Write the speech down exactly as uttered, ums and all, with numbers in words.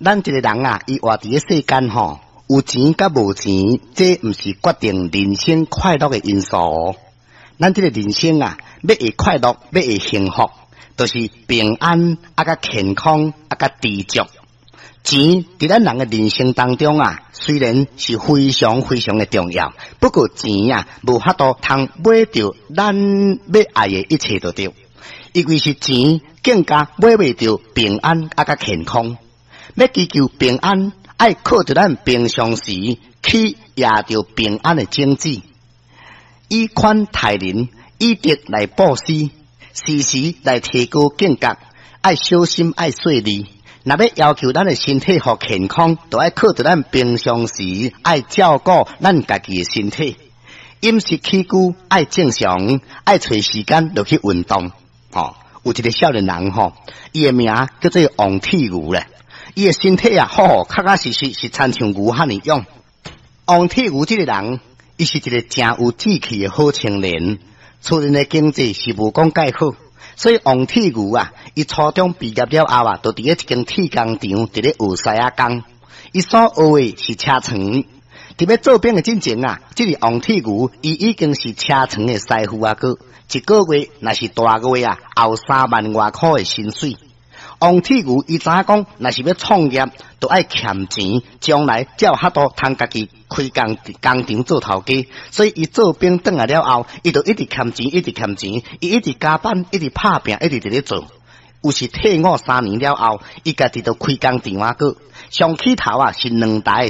咱一个人啊，伊活佇咧世間吼，有錢佮無錢，這毋是決定人生快樂的因素。咱這個人生啊，欲會快樂，欲會幸福，就是平安啊，佮健康啊，佮知足。錢佇咱人的人生當中啊，雖然是非常非常的重要，不過錢啊，無法度通買著咱欲愛的一切都對。因為是錢更加買袂著平安啊，佮健康。欲祈求平安，愛靠著咱平常時去掖著平安的種子，以寬待人，以德來布施，時時來提高警覺，愛小心，愛細膩。若欲要求咱的身體予健康，就愛靠著咱平常時愛照顧咱家己的身體，飲食起居愛正常，愛揣時間落去運動。吼，有一個少年人吼，伊的名叫做王鐵牛咧。伊的身體啊，好，確確實實是親像牛遐爾勇。王鐵牛這個人，伊是一個誠有志氣的好青年，厝內的經濟是無講蓋好，所以王鐵牛啊，伊初中畢業了後啊，就佇咧一間鐵工廠佇咧學師仔工。伊所學的是車床。佇欲做兵的進前啊，這個王鐵牛伊已經是車床的師傅啊，閣一個月若是大月啊，也有三萬外箍的薪水。王鐵牛伊知影講，若是欲創業，就愛儉錢，將來才有法度通家己開工工廠做頭家。所以伊做兵轉來了後，伊就一直儉錢，一直儉錢，伊一直加班，一直拍拚，一直佇咧做。有是退伍三年了後，伊家己就開工廠啊，閣上起頭啊是兩台。